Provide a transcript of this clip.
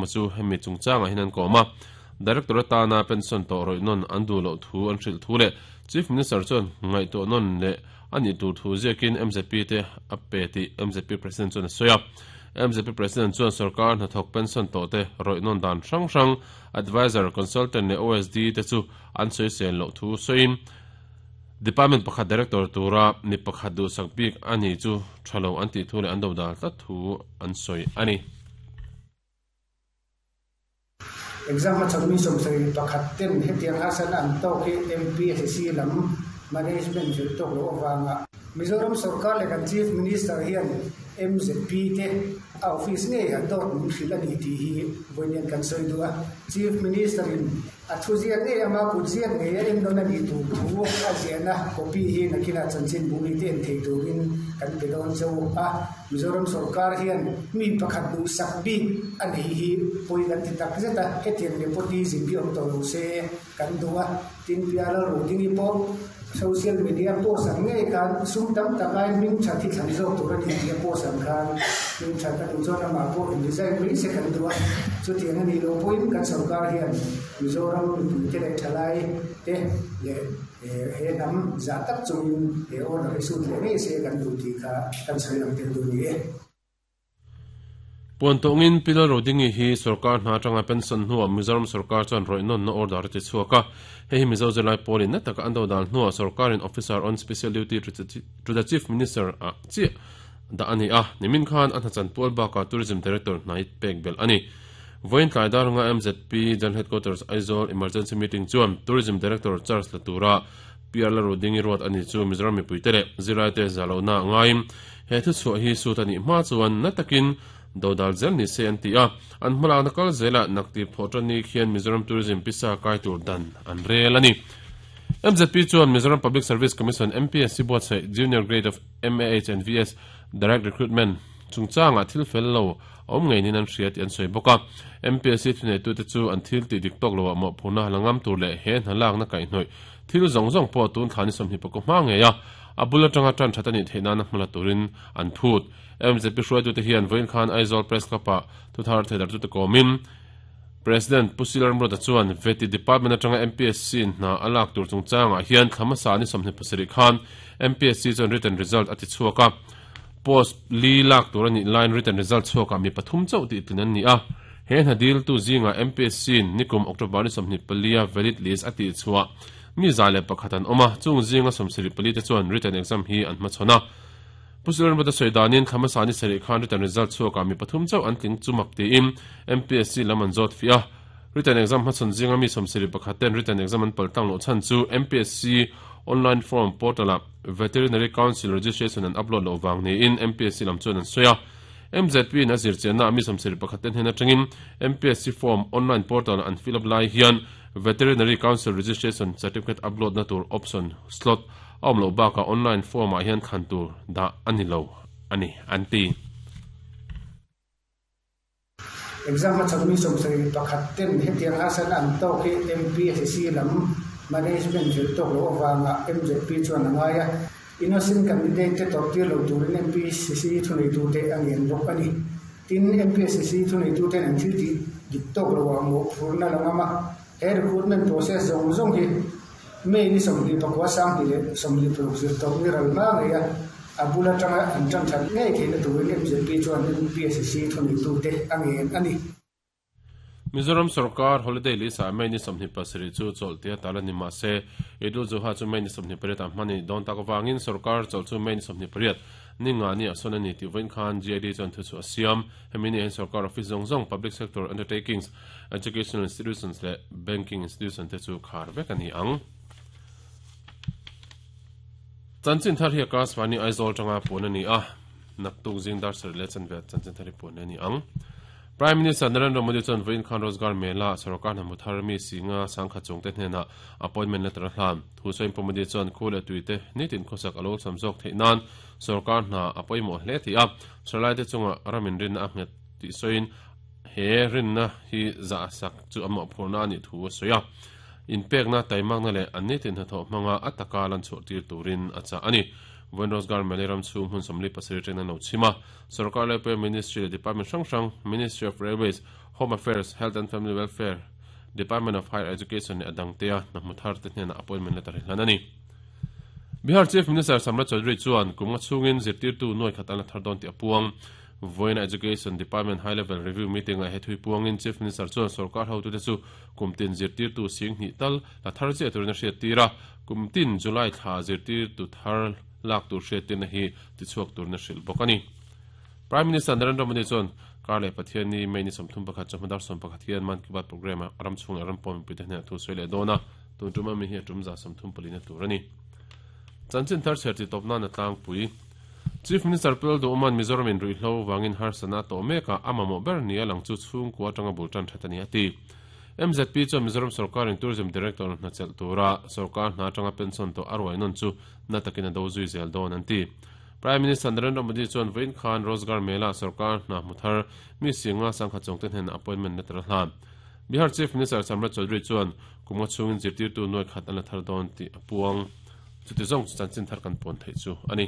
Chu hemi chungchangah hian an kawm a, Director atana pension tawh rawih nawn an duh loh thu an hrilh thu leh Chief Minister chuan ngaihtuah nawn leh a nih tur thu ziakin mzp te a pe tih mzp President chuan a sawi a. Mzp President chuan sorkar hnathawk pension tawh te rawih nawn dan hrang hrang Adviser, Consultant leh OSD te chu an sawisel loh thu sawiin Department pakhat Director tura mi pakhat duhsak bik a ni chu tha lo an tih thu leh an dodal tlat thu an sawi a ni. Exam hmachhawn mi 71 ten hetiang harsatna an tawk hi MPSC lam management fel tawk loh avanga Mizoram sorkar leh kan Chief Minister hian MZP te a office ngei ah dawt min hrilh a ni tih hi vawiin hian kan sawi duh a. Chief Minister in A thu ziak ngei ama kut ziak ngei a en nawn a nih tur thu a ziahna copy hi nakinah chanchinbu mite en thei turin kan pe dawn che u a. Mizoram sorkar hian mi pakhat duhsak bik a nei hi pawi kan ti tak zet a, hetiang nepotism hi awm tawh lo se kan duh a. Tin, Piala Rudingi pawh social media post ang ngei khan sum tam tak ai hming that hi thlan zawk tur a ni tih a post ang khan hming that a duh chuan amah pawh in resign mai se kan duh a. Chutiang a nih loh pawhin kan sorkar hian Mizoram mipuite leh thalai te leh he hnam zah tak chungin he order hi sut leh ngei se kan duh tih kha kan sawi lang tel duh a ni e. Puan tawngin Pi Lalrodingi hi sorkar hna atanga pension hnuah Mizoram sorkar chuan rawih nawnna order a ti chhuak a. Hei hi Mizo zirlai pawlin na taka an dodal hnuah sorkarin Officer on Special Duty to the Chief Minister ah chiah dah a ni a. Nimin khan a hnachan pual bakah Tourism Director hnai pek belh a ni. Vawiin tlai dar anga MZP General Headquarters Aizawl Emergency Meeting chuan Tourism Director charge la tura PR Lalrodingi ruat a ni chu Mizoram mipuite leh zirlaite zahlohna a ngaiin He thuchhuah hi sut a nih hma chuan na takin dodal zel ni se an ti a, an hmalakna kal zelah naktip thawh tan ni khian Mizoram Tourism pisa kai tur dan an rel a ni. MZP chuan Mizoram Public Service Commission, MPSC, buatsaih Junior Grade of MAH and VS Direct Recruitment chungchangah thil fel lo a awm ngei niin an hria tih an sawi bawk a. MPSC thuneitute chu an thil tih dik tawk loah mawhphurhna la ngam tur leh he hna lakna kaihhnawih thil zawng zawng pawh tun thla ni 24 hma ngei a A bul atanga tan that a nih theih nana hmala turin an phut. MZP hruaitute hian vawiin khan Aizawl Press Club-ah thuthar theidartute kawmin President Pu Silar Mruta chuan Veti Department atanga MPSC in hna a lak tur chungchangah hian thla hmasa ni 27 khan MPSC chuan written result a ti chhuak a. Post li lak tur a nih laiin written result chhuakah mi pathum chauh tih tlin an ni a. He hna diltu zingah MPSC in nikum October ni 24 a valid list a tihchhuah Mi 101 an awm a, chung zinga 74 te chuan written exam hi an hmachhawn a. Pu Surenbata sawi danin thla hmasa ni sarih khan written result chhuakah mi pathum chauh an tling chu mak tiin MPSC lam an zawt fiah a. Written exam hmachhawn zinga mi 71 ten written exam an paltlang loh chhan chu MPSC online form portal-ah Veterinary Council registration an upload loh vang niin MPSC lam chuan an sawi a. MZP in a zirchiannaah mi 71 te hnen atangin MPSC form online portal an fill up lai hian Veterinary Council Registration Certificate upload na tur option slot a awm loh bakah online form ah hian thlan tur dah a ni lo a ni, an ti. Exam hmachhawn mi 71 ten hetiang harsatna an tawk hi MPSC lam management fel tawk loh avanga MZP chuan a ngai a, innocent candidate te tawrhtir lo turin MPSC thuneitute a ngen bawk a ni. Tin, MPSC thuneituten an thil tih dik tawk loah mawhphurhna la ngam a, he recruitment process zawng zawng hi May ni 29, 2026 zir tawp ni ral hma ngei a, a bul atanga an tan that ngei theihna turin MZP chuan MPSC thuneitute a ngen a ni. Mizoram sorkar holiday list-ah May ni 27 chu chawlh tia tal a ni mahse, Eid-ul Zuha chu May ni 28 ah hman a nih dawn tak avangin sorkar chawlh chu May ni 28 Ni nga ni ah sawn a ni tih vawiin khan GID chuan thu chu a siam. Hemi ni ah hian sorkar office zawng zawng, public sector undertakings, educational institutions leh banking institution te chu khar vek a ni ang. Chanchin thar hi a class vani Aizawl tanga puan a ni a, naktuk zing dar sarih leh chanve chanchin thar hi puan a ni ang. Prime Minister Narendra Modi chuan vawiin khan Rozgar Mela sorkar hna hmu thar mi singa sangkhat chungte hnenah appointment letter a hlan. Thu sawiin Pu Modi chuan khu leh tuite nitin khawsak a lo sam zawk theih nan Sorkar hna a pawimawh hle tih a, Thalai te chunga ram inrinna a nghet tih sawiin he rinna hi zahsak chu a mawhphurhna a nih thu a sawi a. Inpekna, taimakna leh an nitin hnathawh hmanga a taka lan chhuah tir turin a chah a ni. Vawiin Rozgar Mela ram chhung hmun 47 atangin an lo chhim a, Sorkar Laipuia Ministry leh Department hrang hrang, Ministry of Railways, Home Affairs, Health and Family Welfare, Department of Higher Education leh a dangtea hna hmu thar te hnenah appointment letter hi hlan a ni. Bihar Chief Minister Samrat Chaudhary chuan kum nga chhungin zirtirtu nuai khat an la thar dawn tih a puang. Vawiina Education Department High Level Review Meeting ah he thui puangin Chief Minister chuan sorkar hotute chu kum tin zirtirtu sing hnih tal la thar chiah turin a hriattir a, kum tin July thla zirtirtu thar lak tur hriattirna hi tichhuak turin a hrilh bawk a ni. Prime Minister Narendra Modi chuan kar leh Pathianni May ni 31 chawhma dar 11 hian Mann Ki Baat programme ah ram chhung leh ram pawn mipuite hnenah thu sawi leh dawn a, tun tum ami hi a tum za 34 na tur a ni. Chanchin thar chher tih tawp nan a tlangpui. Chief Minister Pul Duhman Mizoram in ruihhlo vangin harsatna a tawh mek a, a mamawh ber nia lang chu chhungkua atanga bul tan that a ni a ti. MZP chuan Mizoram sorkarin Tourism Director hna chelh tura sorkar hna atanga pension tawh a ruai nawn chu na takin a do zui zel dawn an ti. Prime Minister Narendra Modi chuan vawiin khan Rozgar Mela sorkar hna hmu thar mi singa sangkhat chawngte hnenah appointment letter a hlan. Bihar Chief Minister Samrat Chaudhary chuan kum nga chhungin zirtirtu nuai khat an la thar dawn tih a puang. Chuti zawng chu chanchin thar kan puan theih chu a ni.